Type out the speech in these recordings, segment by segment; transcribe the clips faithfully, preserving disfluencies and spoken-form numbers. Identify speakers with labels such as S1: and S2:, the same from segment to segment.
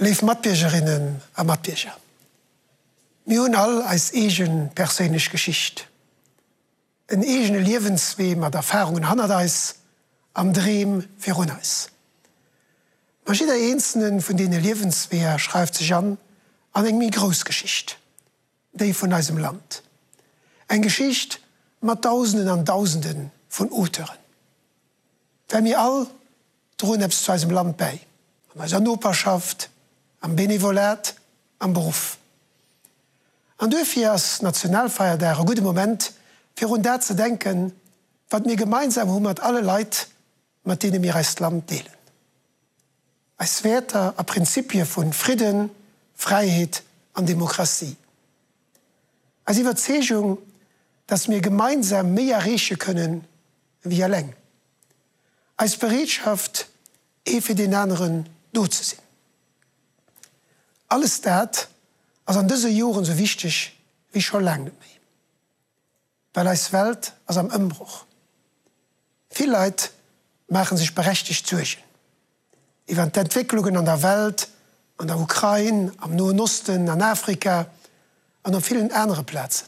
S1: Léif Matbiergerinnen a Matbierger, mir hunn all eis eege perséinlech Geschicht, en eegene Liewenswee mat Erfarungen hannert eis an Dreem virun eis. Ma jidder eenzelne vun deene Liewensweeër schreift sech an an eng méi grouss Geschicht, déi vun eisem Land. Eng Geschicht mat Dausenden an Dausende vun Auteuren. Well mir all droen eppes zu eisem Land bäi, an eiser Noperschaft, am Benevolat, am Beruff. An duerfir ass Nationalfeierdag e gudde Moment, fir un dat ze denken, wat mir gemeinsam hu mat alle Leit, mat deene mir eist Land deelen. Eis Wäerter a Prinzipie vu Fridden, Fräiheet an Demokratie. Eis Iwwerzeegung, dass mir gemeinsam méi erreeche kënnen wéi eleng. Eis Bereetschaft, ee fir deen aneren do ze sinn. Alles dat ass an dëse Joren esou wichteg wéi scho laang net méi. Well eis Welt ass am Ëmbroch. Vill Leit maache sech berechtegt Suergen iwwer d'Entwécklungen an der Welt, an der Ukrain, am Noen Osten, an Afrika an op villen anere Plazen.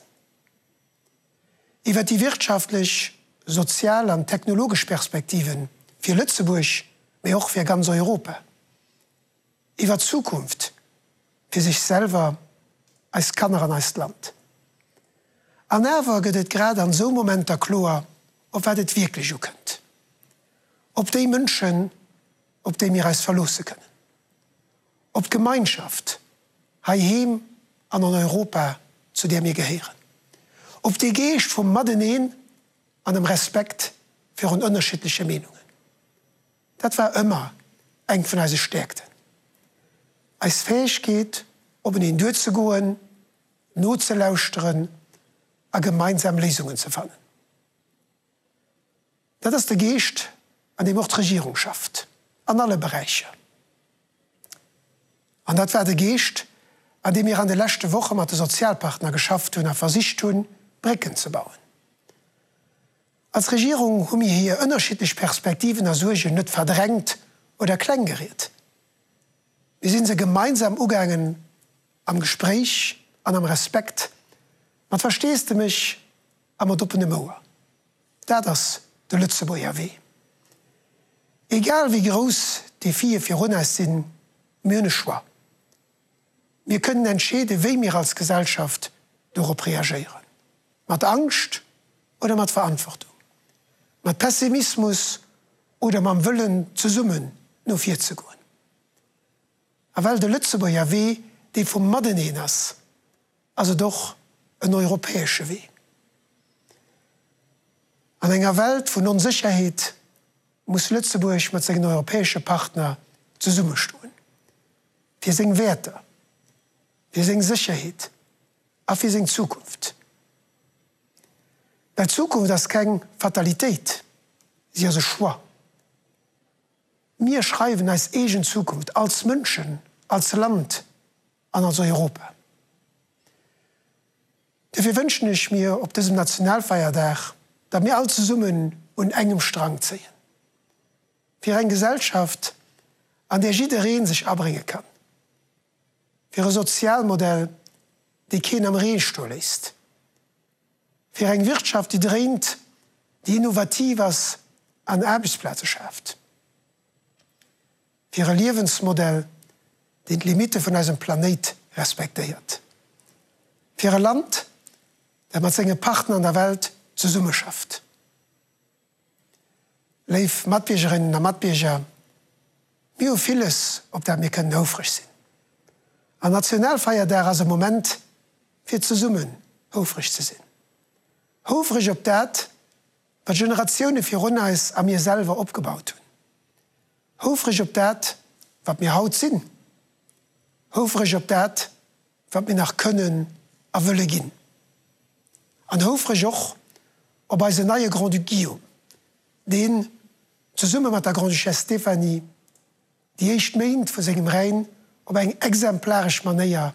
S1: Iwwer déi wirtschaftlech, sozial an technologesch Perspektive fir Lëtzebuerg, mee och fir ganz Europa. Iwwer d'Zukunft fir sech selwer, eis Kanner an eist Land. An awer gëtt et grad an esou Momenter kloer, op wat et wierklech ukënnt. Op déi Mënschen, op déi mir eis verloosse kënnen. Op d'Gemeinschaft heiheem an an Europa, zu där mir gehéieren. Op dee Geescht vum Mateneen an dem Respekt virun ënnerschiddleche Meenungen. Dat war ëmmer eng vun eise Stäerkten. Eis Fäegkeet, openeen duerzegoen, nozelauschteren a gemeinsam Léisungen ze fannen. Dat ass de Geescht, an deem och d'Regierung schafft, an alle Beräicher. An dat war de Geescht, an deem mir an de leschte Woche mat de Sozialpartner geschafft hunn a versicht hunn, Brécken ze bauen. Als Regierung hu mir hir ënnerschiddlech Perspektiven a Suergen net verdrängt oder klenggeriet. Mir si se gemeinsam ugaangen, am Gespréich an am Respekt, mat Versteesdemech a mat oppenem Ouer. Dat ass de Lëtzebuerger Wee. Egal wéi grouss d'Defie virun eis sinn, mir hunn e Choix. Mir kënnen entscheeden, wéi mir als Gesellschaft dorop reagéieren. Mat Angscht oder mat Verantwortung. Mat Pessimismus oder mam Wëllen, zesummen no vir ze goen. A well de Lëtzebuerger Wee dee vum Mateneen ass, ass et och en europäesche Wee. An enger Welt vun Onsécherheet muss Lëtzebuerg mat sengen europäesche Partner zesummestoen. Fir seng Wäerter, fir seng Sécherheet a fir seng Zukunft. Well d'Zukunft ass keng Fatalitéit, si ass e Choix. Mir schreiwen eis eegen Zukunft als Mënschen, als Land an als Europa. Dofir wënschen ech mir op dësem Nationalfeierdag, datt mir all zesummen un engem Strang zéien. Fir eng Gesellschaft, an där jidderee sech abrénge kann. Fir e Sozialmodell, dee keen am Ree stoe léisst. Fir eng Wirtschaft, déi dréint, déi innovativ ass an Aarbechtsplaze schaaft. Fir e Liewensmodell, deen d'Limitte vun eisem Planéit respektéiert. Fir e Land, dat mat senge Partner an der Welt zesummeschafft. Léif Matbiergerinnen a Matbierger, mir hu villes, op dat mir kënnen houfreg sinn. An Nationalfeierdag ass e Moment, fir zesummen houfreg ze sinn. Houfreg op dat, wat Generatioune virun eis a mir selwer opgebaut hunn. Houfreg op dat, wat mir haut sinn. Houfreg op dat, wat mir nach kënnen a wëlle ginn. An houfreg och op eisen neie Grand-Duc Guillaume, deen, zesumme mat der Grande-Duchesse Stéphanie, déi éischt Méint vu sengem Règne op eng exemplaresch Manéier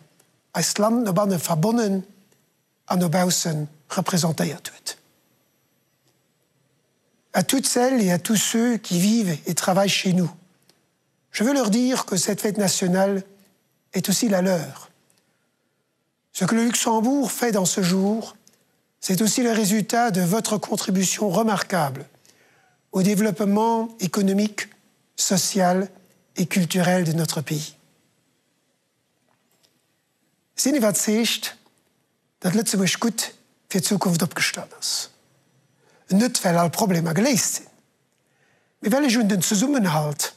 S1: eist Land no banne verbonnen an no bausse representéiert huet. À toutes celles et à tous ceux qui vivent et travaillent chez nous, je veux leur dire que cette fête nationale est aussi la leur. Ce que le Luxembourg fait dans ce jour, c'est aussi le résultat de votre contribution remarquable au développement économique, social et culturel de notre pays. Sinn iwwerzeegt, datt Lëtzebuerg gutt fir d'Zukunft opgestallt ass. Net well all Problemer geléist sinn, mee well ech un den Zesummenhalt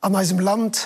S1: an eisem Land